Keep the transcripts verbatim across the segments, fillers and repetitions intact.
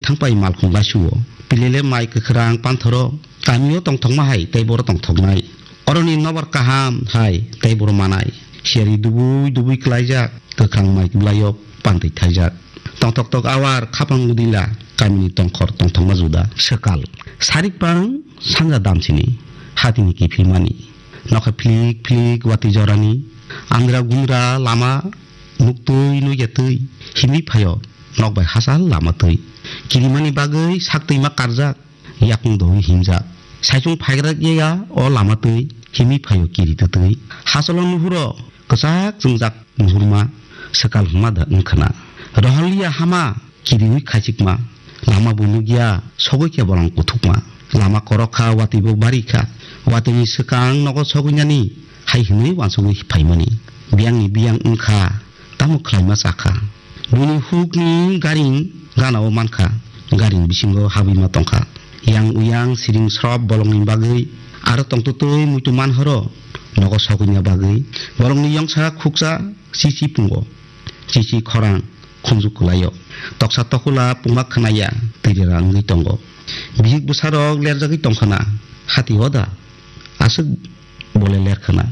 thangpai malkhung laisuo. Pilele mai kwkhwrang panthoro, kamio tongthokma hai tei boro tongthoknai. Oroni nobar kaham hai tei boro manai. Siyari dubui dubui klaijak, kwkhwrang mai bwlaio pantwi thaijak. Tongthok tok awar khapang udila, kamini tongkhor tongthokma juda. Swkal. Sarikpang sanja damsini, hatini kiphilmani. Nokha philik philik watwi jorani, andra gundra lama, muktwi nukya twi, himwi phaio, nok bai hachal lama twi. Kirimani bagwi sak twima karjak, yakung dowi himjak. Saichung phaigra ya o lama twi, himwi phaio kiri twtwi. Hachalo nuhuro, kwchak chwngjak nuhurma, swkal hwnma da wngkhwna. Rohorliya hama, kiriwi khaichikma, lama bo nukya, sogwi khe bolong kuthukma. Lama korok kha, watwi bo bari kha, watwini swkang nogo sogwinani hai hwnwi uansugwi phaimani. Biyangni biyang wngkha, tamo khlaima chakha. Bini hukni garing ganao mankha, garing bisingo habwima tongkha. Yang uyang siring srop bolongni bagwi aro tongtwtwi muitu manhoro nogo sogwina bagwi bolongni yongsa khuksa chichi pungo. Chichi khorang khunju kwlaio. Toksa tokula pungma khwnaya, twirira wngwi tongo. Bihik bwsarok lerjagwi tongkhana, hati oda aswk bole lerkhana.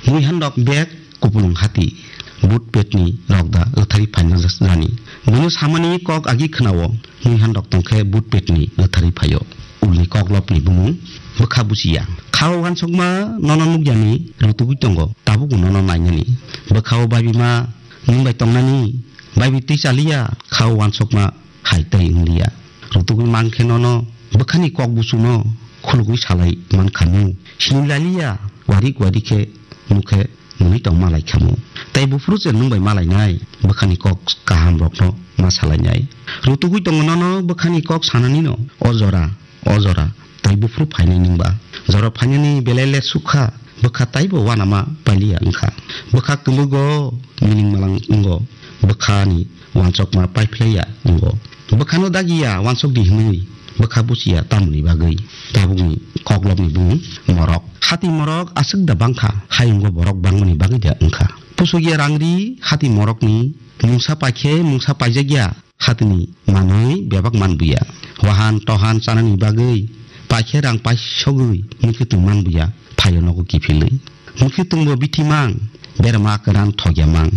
Muihanrok bek kupulung hati, but petni rokda rwthari phaina jani. Bono samani kok agi khwnao, muihanrok tongkhe but petni rwthari phaio. Ulni koklopni bumung bwkha buchiya. Khao uansukma nono nukyani rutugwi tongo, tabukbo nono nainani. Bwkhao babima nwng bai tongnani, baibi twi chaliya, khao uansukma hai tei wngliya. Rutugwi mankhe nono bwkhani kok buchuno khulugwi salai mankhamu. Sini laliya, warik warik khe nukhe nwi tong malai khamu. Tei buphuru se nwng bai malainai, bwkhani kok kaham rokno ma salainai. Rutugwi tongo nono bwkhani kok sananino, o jora, o jora, tei buphuru phainai nwngba. Jora phainani belai le sukha, bwkha taibo uanama pailiya wngkha. Bwkha kwmwgo mining malang wngo, bwkhani uansukma paiphlaiya wngo. Bwkhano dagiya uansukdi hwnwi bwkha buchiya tamoni bagwi tabukni koklopni bumung morok. Hati morok aswk da bangkha, hayungo borok bangmani bagwi da wngkha. Pusukya rangri hati morokni mungsa paikhe mungsa paijakya hatini manwi bebak manbuya. Wahan tohan chanani bagwi paikhe rang paisogwi muikwtwng manbuya, phaio nogo kiphilwi. Muikwtwngbo bithi mang, berma kwran thokya mang.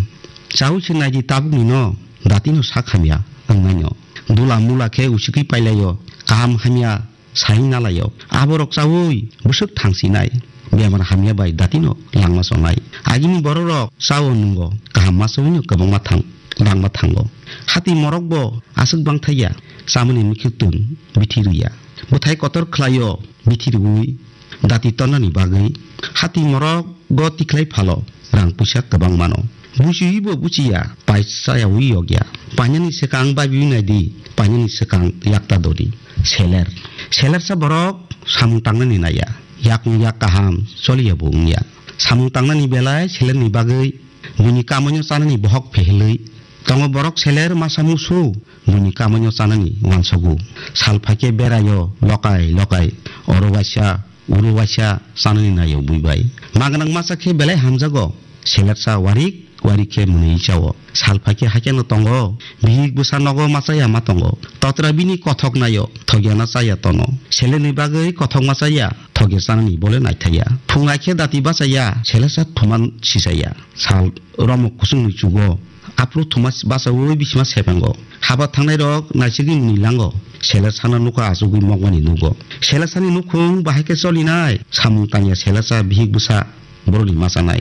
Chaui se naidi tabukni no, datino sak hamya wngnaino. Dula mula khe usikwi pailaio, kaham hamya sai nalaio. Aborok chaui bwswk thangsinai, bemar hamya bai datino langma chonai. Agini bororok chao nwngo, kaham ma chawino kwbangma thang, langma thango. Hati morokbo aswk bangthaiya, chamani muikwtwng bithi rwya. Bwthai kotor khlaio, bithi rwui dati tornani bagwi. Hati morok go tikhlai phalo, rang puisa kwbang mano. Buchiwi bo buchiya, pai chayawi yokya. Painani swkang babiwi naidi, painani swkang yakta dodi. Seler. Selersa borok samung tangnani naiya. Yakung yak kaham, choliya bo wngya. Samung tangnani belai selerni bagwi, buini kamoino chanani bohok phehelwi. Tongo borok seler masa musu, buini kamoino chanani uansogo. Sal phaikhe beraio, lokai lokai, oro waisa, uro waisa chanani naio bui bai. Ma gwnang masa khe belai hamjago, selersa warik warik khe mwnwi chao. Sal phaikhe haikhe no tongo, bihik bwsa nogo machaya ma tongo. Totra bini kothok naio, thokya na chaya tono. Selerni bagwi kothok machaya, thokya chanani bole naithaya. Phung aikhe dati bachaya, selersa thuman sisaya. Sal romok kusungni chugo, aphuru thuma bachaui bisima sepengo. Haba thangnairok naisigwi mwnwi lango, selersano nukha achugwi mokmani nugo. Selersani nukhung bahai khe cholinai, samung tangya selersa bihik bwsa borokni machanai.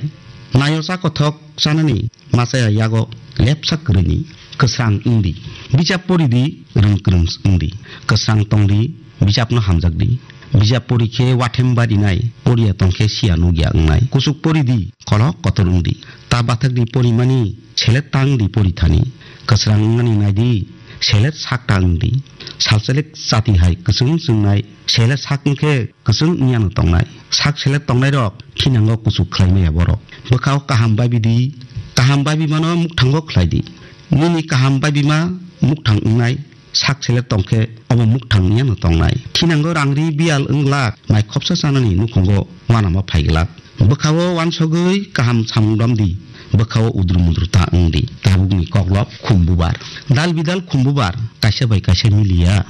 Nayo cha kothok chanani machaya yago lepsa kwrwini kwsrang wngdi. Bijap poridi, rwng kwrwng wngdi. Kwsrang tongdi, bijapno hamjakdi. Bijap pori khe wathem barinai, poriya tong khe siya nukya wngnai. Kuchuk pori di, kolok kotor wng di. Ta bathak di porimani, selet ta wng di pori thani. Kwsrang wngnani nai di, selet sak ta wng di. Salselek chati hai kwchwng chwngnai, selet sak wng khe kwchwng wng yano tongnai. Sak selet tongnairok thinango kuchuk khlai maya borok. Bwkhao kaham babi di, kaham babi mano mukthango khlai di. Nini kaham babi ma mukthang wngnai, sak seler tong khe obo mukthang wngya no tongnai. Thinango rangri biyal wng glak, mai khopsa chanani nukhungo uanama phai glak. Bwkhao uansogwi kaham samung romdi, bwkhao udru mudru ta wngdi. Tabukni koklop khum bubar. Dal bidal khum bubar, kaisa bai kaisa miliya,